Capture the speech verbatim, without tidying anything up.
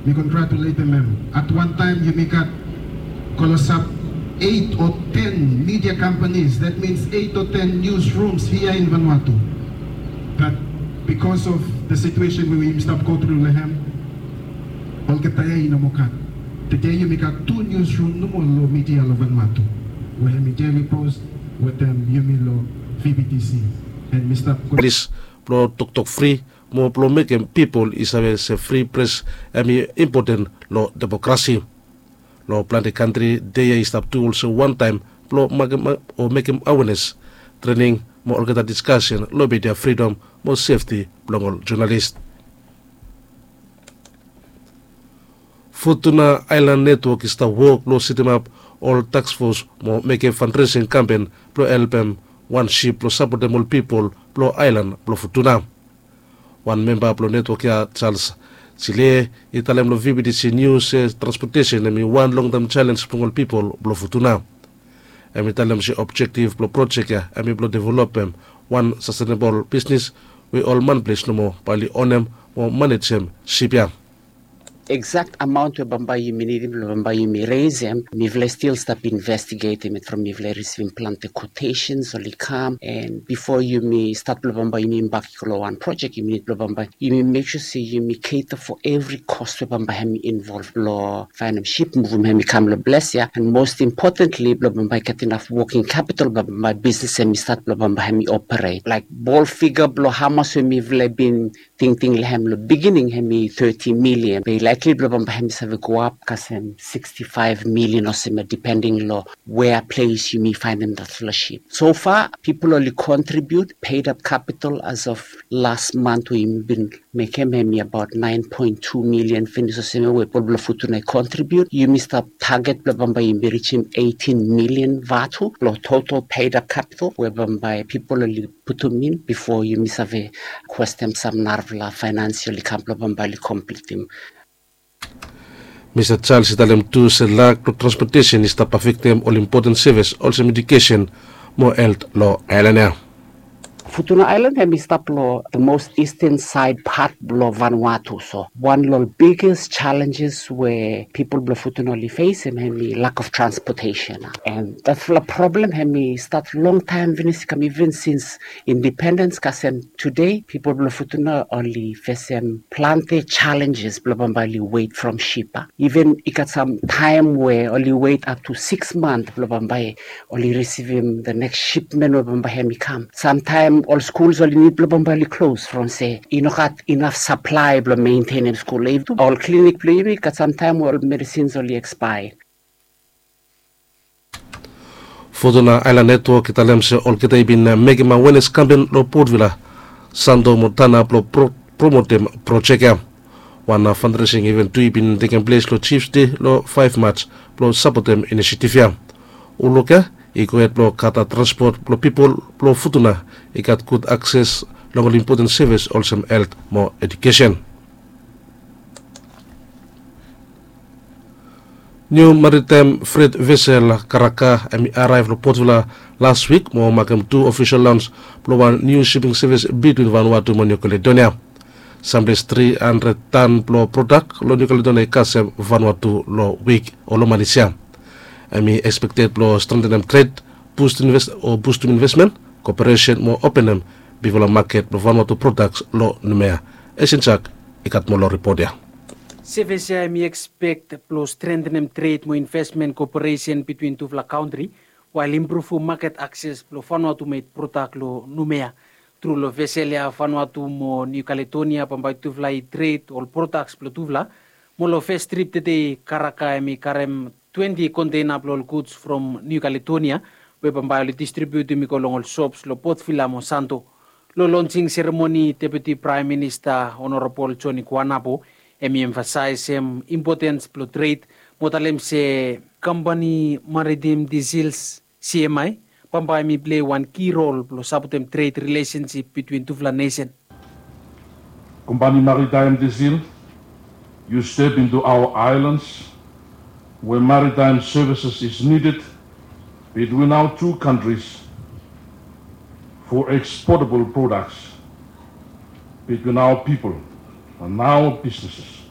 Mi kongratuletem hem. At wan taem yumi gat klosap eit o ten media companies, that means eit o ten newsrooms hia in Vanuatu. But because of the situation we yumi stap go through long hem, olgeta ya i no moa gat. Tede yumi gat tu newsroom nomo long media long Vanuatu, we hem i Daily Post wetem yumi long V B T C. And mi stap go. Plis blong toktok fri mo blong mekem pipol i save se fri pres hem i impoten long demokrasi. Long plante kantri dei ya i stap tu olsem wantaem blong makem o mekem awenes, trening mo olgeta diskasen long media fridom mo sefti blong ol jonalis. Futuna Aelan Netwok i stap wok blong setemap ol taskfos mo mekem fandresing kampen blong helpem wan sip blong sapotem ol pipol blong aelan blong Futuna. Wan memba blong netwok ya, Charles Sile, i talem long V B T C News se transpotesen hem i wan longtaem jalenj blong ol pipol blong Futuna. Hem i talem se objektif blong projek ya hem i blong developem wan sastenebol bisnis we ol manples nomo bae oli onem mo manejem sip ya. Exact amount we bambae yumi nidim blong bambae yumi resem, mifala i stil stap investigetem it from mifala i risivim plante quotations oli kam. And bifo yumi stat blong bambae yumi bak i go long wan projek, yumi nid blong bambae yumi mek sua se yumi cater for evri kos we bambae hem i involv blong faenem sip, muvum hem i kam long ples ya, and most importantly blong bambae i gat inaf woking kapital blong bambae bisnis hem i stat blong bambae hem i operate. Laek bol figa blong hamas we mifala i bin tingting long hem long bigining hem i thirty million, be i laekli blong bambae hem i save goap kasem sixty-five million olsem ya, depending long wea ples yumi faenem datfala sip. So far pipol oli kontribiut, paid up capital as of las mant we yumi bin mekem hem i abaot nine point two million finis olsem ya we pipol blong Futuna i kontribiut. Yumi stap taget blong bambae yumi rijim eighteen million vatu long total paid up capital we bambae pipol oli putum in bifo yumi save kwestem sam narafala faenans oli kam blong bambae oli komplitim. Mista Charles i talem tu se lak blong transpotesen i stap afektem ol impoten sevis olsem edukesen mo helt long aelan ya. Futuna Aelan hem i stap long the most eastern side part blong Vanuatu, so wan long ol biggest challenges we pipol blong Futuna oli fesem hem i lack of transportation. And datfala problem hem i stat longtaem finis, i kam iven sins independens kasem tede, pipol blong Futuna oli fesem plante challenges blong bambae oli wet from sip. Iven i gat sam taem we oli wet up to six month blong bambae oli risivim the next shipment we bambae hem i kam. Samtaem ol skuls oli nid blong bambae oli klos from se i no gat inaf saplae blong mentenem skul. Ol klinik blong yumi i gat samtaem we ol medisins oli ekspaea. Futuna Aelan Netwok i talem se olgeta i bin mekem awenes kampen long Port Vila, Santo mo Tanna blong promotem projek ya. Wan fandresing iven tu i bin tekem ples long Chiefs Day long five March blong sapotem inisiativ ya. Uluk ya i gohed blong gat transpot blong pipol blong Futuna i gat gud akses long ol impoten sevis olsem helt mo edukesen. Niu maritaem fret vesel Karaka hem i araev long Port Vila las wik mo makem tu ofisol lons blong wan niu siping sevis bitwin Vanuatu mo Niu Kaledonia. Samples tri handred tan blong prodak long Niu Kaledonia i kasem Vanuatu long wik o long manis ya. Hem i ekspekted blong strentenem tred, bustum investmen, koperesen mo openem bigfala maket blong Vanuatu prodaks long Numea. Esin Jak i gat moa long ripot ya. Sevis ya hem i ekspekt blong strentenem tred mo investmen koperesen bitwin tufala kantri, wael impruvum maket akses blong Vanuatu med prodak long Numea. Tru long vesel ya Vanuatu mo Niu Kaledonia bambae tufala i tred ol prodaks blong tufala. Mo long fes trip tede Karaka hem i karem twenti konteina blong ol guds from Niu Kaledonia we bambae oli distribiutum i go long ol sops long Port Vila mo Santo. Long lonsing seremoni Deputi Praem Minista Honorabol Joni Kuanapo hem i emfasaesem impotens blong tred mo talem se kampani Maritim Diesels, C M I, bambae hem i plei wan ki rol blong sapotem tred rilesensip bitwin tufala nesen. Company Maritime Diesel, you step into our islands where maritime services is needed between our two countries for exportable products between our people and our businesses.